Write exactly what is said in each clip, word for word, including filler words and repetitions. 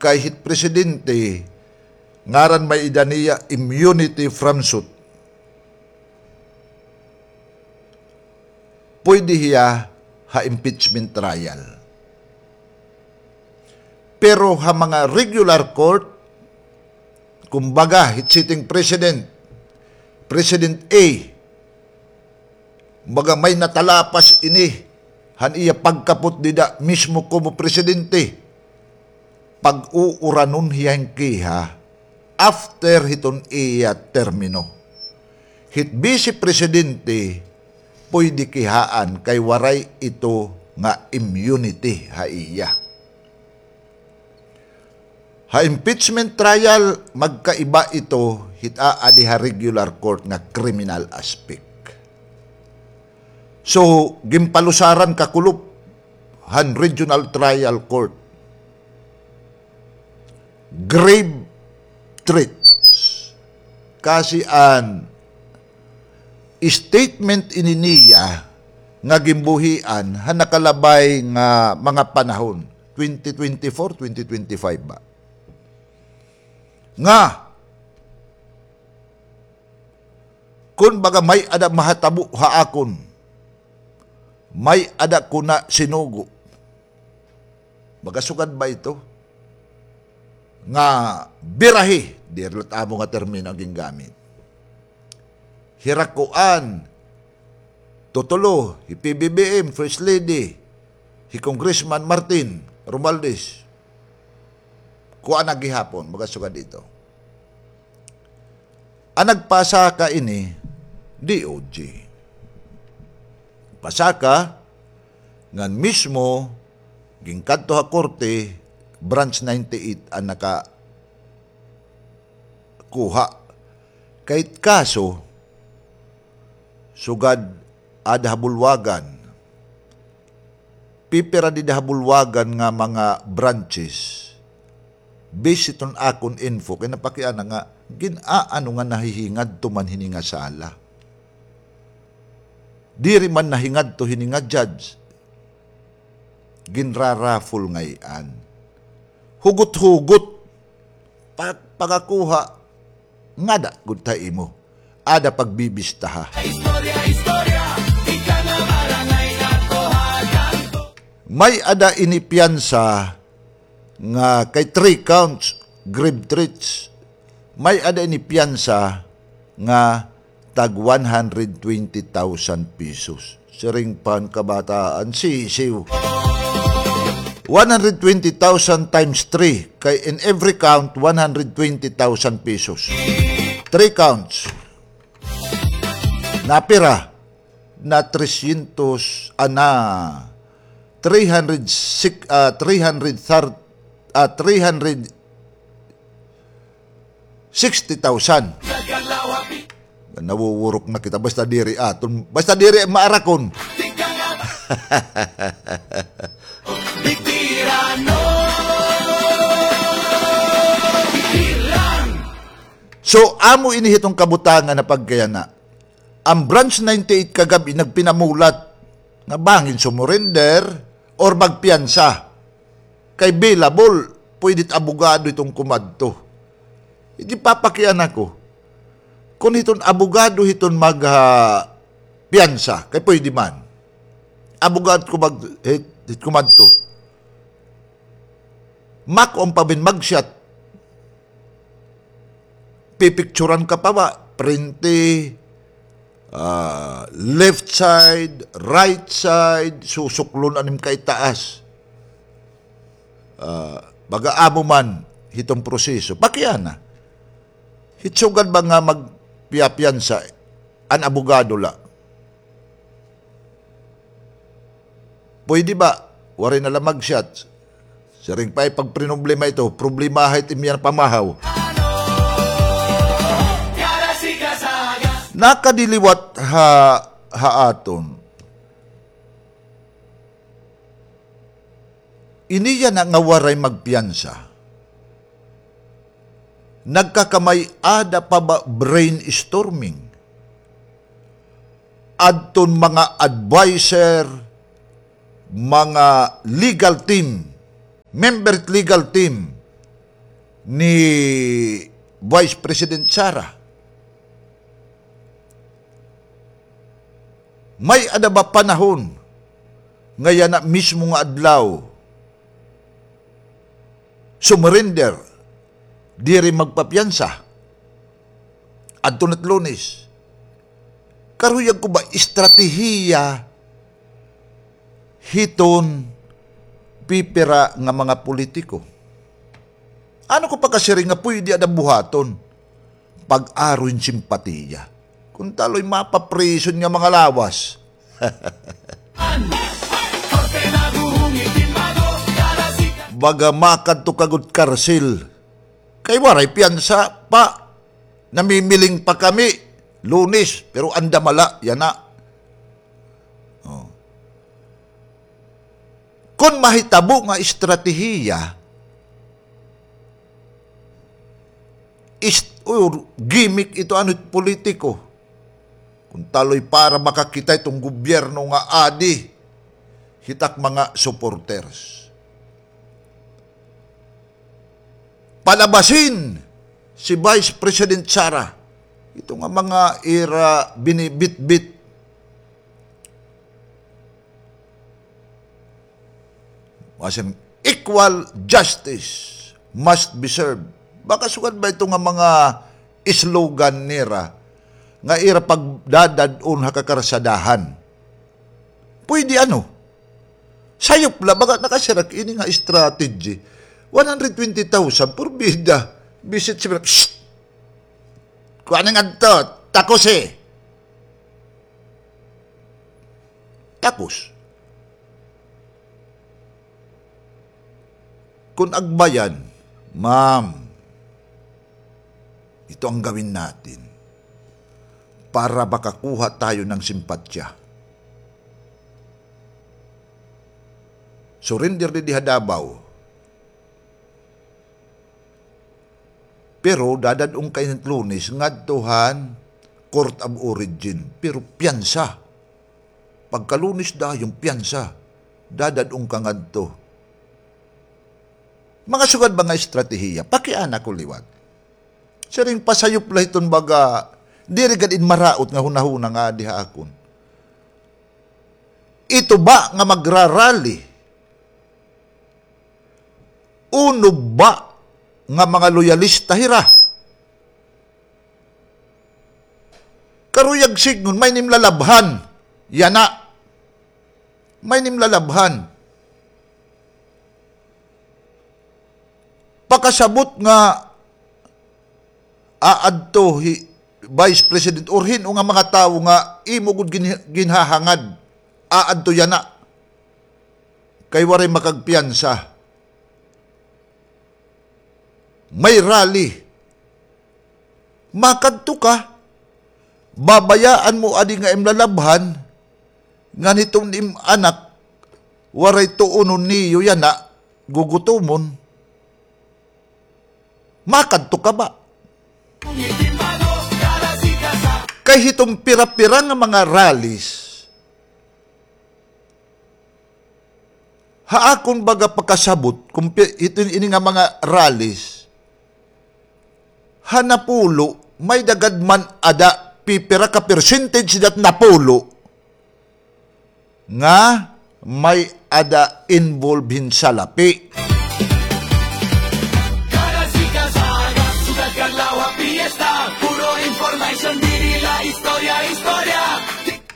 kay hit presidente, ngaran may-ada niya immunity from suit. Pwede hiya ha impeachment trial. Pero ha mga regular court, kumbaga, hit sitting president, President A, baga may natalapas ini han iya pagkapot dida mismo komo presidente. Pag-uuranon hiya hin kiha after hiton iya termino. Hit vice presidente puyde kihaan kay waray ito nga immunity ha iya. Ha impeachment trial, magkaiba ito hit aadi ha regular court nga criminal aspect. So, ginpalusaran kakulop han regional trial court. Grave threats. Kasi an statement ini niya nga ginbuhian ha nakalabay nga mga panahon, twenty twenty-four, twenty twenty-five ba? Nga, kun baga may-ada mahatabo ha akon, may-ada ko na sinugo. Baga sugad ba ito? Nga birahi, diri la it amo nga termino an gingamit. Hira kuan, tutulo, hi P B B M, First Lady, hi Congressman Martin Romualdez. Kuan na gihapon, baga sugad ito. An nagpasaka ini, D O J. Pasaka, ngan mismo, ginkadto ha korte, Branch ninety-eight an nakakuha. Kay it kaso, sugad aada ha bulwagan, pipira dida ha bulwagan nga mga branches. Based hiton akon info, kay napakiana nga gin-aano nga nahihingadto man hini nga sala. Diri man nahingadto hini nga judge. Ginraraffle ngay-an. Hugot-hugot. Pa-, pagakuha. Ngada gud ta imo. Ada pagbibistaha. Istorya, istorya, ika nga barangay nagkuha tanto. May-ada ini piyansa nga kay three counts, grave threats. May-ada ini piyansa nga tag one hundred twenty thousand pesos. Siring pa han kabataan, sisiw. One hundred twenty thousand times three, kay in every count, one hundred twenty thousand pesos. Three counts. Napira? Na trescientos, ah, na three hundred six, ah, three hundred thirty, ah, three hundred sixty thousand. Nawuwurok na kita. Basta diri aton, basta diri maarakon. So, amo ini hiton kabutangan nga pagkayana. An Branch ninety-eight kagab-i nagpinamulat nga bangin sumurrender or magpiyansa. Kay bailable, pwede it abogado hiton kumadto. Ginpapakiana ko. Kon hiton abogado hiton mag, ah, piyansa, kay pwede man. Abogado ko mag-, hit, hit kumadto. Makuan pa ba hin mugshot. Pipicturan ka pa ba? Prente, ah, left side, right side, susuklon an im kaitaas. Ah, baga amo man hiton proseso. Pakiana. Hit sugad ba nga magpiyapiyansa an abogado la? Pwede ba? Waray na la mag-shot. Siring pa, ipagproblema ito. Problemaha it im yana pamahaw. Nakadiliwat ha, ha aton. Ini yana nga waray magpiyansa. Nagkakamay-ada pa ba brainstorming? Adton mga adviser, mga legal team, member legal team, ni Vice President Sara. May-ada ba panahon nga yana mismo nga adlaw sumurrender, diri magpapiyansa, adto na it Lunes? Karuyag ko ba estratehiya hiton pipira nga mga politiko? Ano ko pakasiring nga puyde ada buhaton? Pag-aro hin simpatiya. Kun taloy mapaprison nga mga lawas. Baga makadto ka gud karsil. Kay waray piyansa pa. Namimiling pa kami. Lunes, pero andam la, yana. Oh. Kon mahitabo nga estratehiya, ist-, or gimmick ito ano it politiko. Kun taloy para makakita iton gobyerno nga adi hit ak mga supporters. Palabasin si Vice President Sara. Ito nga mga ira binibitbit. Masin, equal justice must be served. Baka sugad ba ito nga mga slogan nira nga ira pagdadad-on ha kakarsadahan? Pwede ano? Sayop la, baga nakasiring ini nga strategy. One hundred twenty thousand, purbida. Visit si, psst! Kuan nga adto, takos eh. Takos. Kun agbayan, ma'am, ito ang gawin natin para makakuha tayo ng simpatya. Surrender didi ha Davao. Pero dadad-on ka ini Lunes ngadto han court of origin. Pero piyansa. Pagka Lunes dayon piyansa. Dadad-on ka ngadto. Mga sugad ba nga estratehiya? Pakiana ko liwat. Siring pasayop la hiton baga, diri gad in maraot nga hunahuna nga adi ha akon. Ito ba nga magrarally? Unob ba nga mga loyalista hira? Karuyag sidngon, may nimlalabhan. Yana. May nimlalabhan. Pakasabot nga aadto hi Vice President or hin-o nga mga tawo nga imo gud gin-, ginhahangad, aadto yana. Kay waray makagpiyansa. May rally. Makadto ka. Babayaan mo adi nga im lalabhan, ngan hiton im anak, waray tuonon niyo yana, gugutomon. Makadto ka ba? Kay hiton pira-pira nga mga rallies, ha akon baga pakasabot, kun pi-, ito, ini nga mga rallies, ha napulo, may-ada gad man ada pipira ka percentage dat napulo nga may-ada involved hin salapi.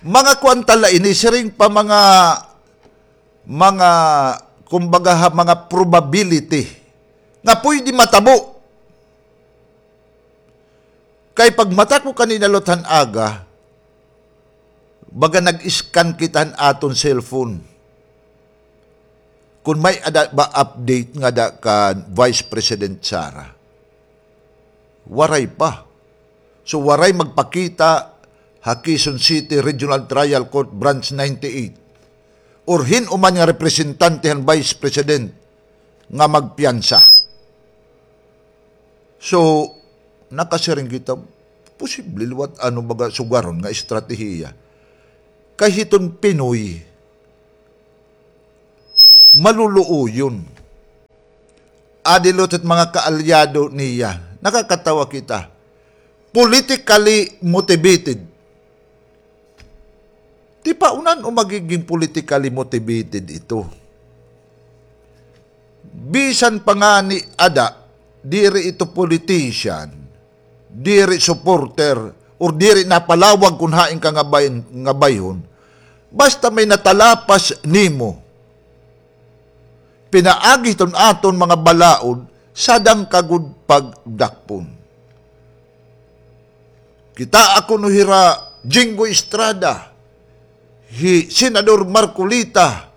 Mga kuan ta la ini, siring pa mga mga, kumbaga, ha, mga probability nga puyde matabo. Kay pagmata ko kanina liwat han aga, baga nag-scan kita han aton cellphone. Kun may-ada ba update ngada kan Vice President Sara. Waray pa. So, waray magpakita ha Quezon City Regional Trial Court Branch ninety-eight or hin-o man nga representante han Vice President nga magpiyansa. So, nakasiring kita, posible liwat ano baga sugaron nga estratehiya. Kay hiton Pinoy, maluluoyon. Adi la it mga kaalyado niya. Nakakatawa kita. Politically motivated. Di pa unan o magiging politically motivated ito. Bisan pa ngani ada, diri ito politician, diri supporter, or diri napalawag kun hain ka nga bay-, nga bayhon, basta may natalapas nimo, pinaagi hiton aton mga balaod, sadang ka gud pagdakpon. Kitaa kuno hira Jinggoy Estrada, hi Senador Marcoleta,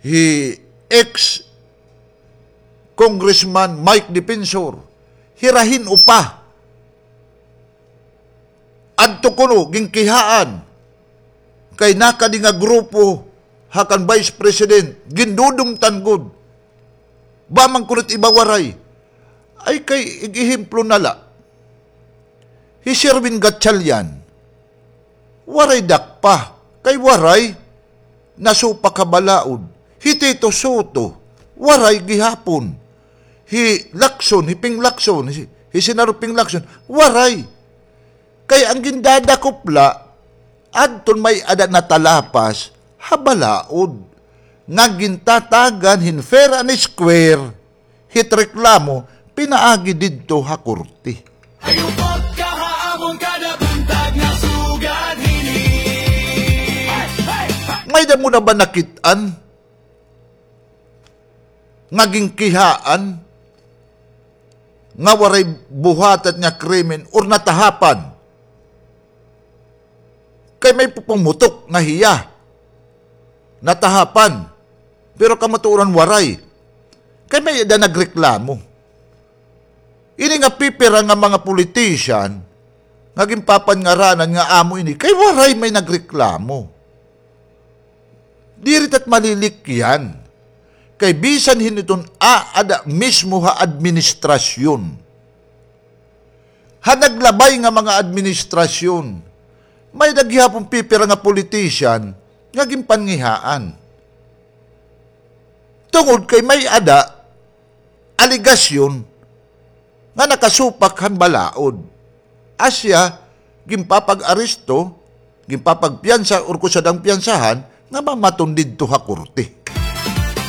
hi ex Congressman Mike Defensor, hira hin-o pa. Adto kuno, ginkihaan. Kay nakadi nga grupo, ha kan Vice President, gindudumtan gud. Ba man kuno it iba waray. Ay kay, ig-ehemplo na la. Hi Sherwin Gatchalian, waray dakpa. Kay waray nasupak ha balaod. Hi Tito Sotto, waray gihapon. Hi Lacson, hi Ping Lacson, hi, hi Senador Ping Lacson, waray. Kay an gindadakop la, adton may-ada natalapas ha balaod. Nga gintatagan hin fair and square, hit reklamo, pinaagi didto ha korte. Hayupot ka ha amon kada buntag nga sugad hini. May-ada mo na ba nakit-an nga ginkihaan nga waray buhatat nga krimen or natahapan? Kay may pumutok nga hiya natahapan, pero kamatuoran waray. Kay may-ada nagreklamo. Ini nga pipira nga mga politician nga ginpapangaranan nga amo ini, kay waray may nagreklamo. Diri ta it malilikyan. Kay bisan hin-o iton aada mismo ha administrasyon, ha naglabay nga mga administrasyon, may-ada gihapon pipira nga politician nga ginpangihaan. Tungod kay may-ada alegasyon nga nakasupak han balaod. Asya, ginpapag-aresto, ginpapagpiyansa, or kon sadang piyansahan, nga mamaton didto ha korte.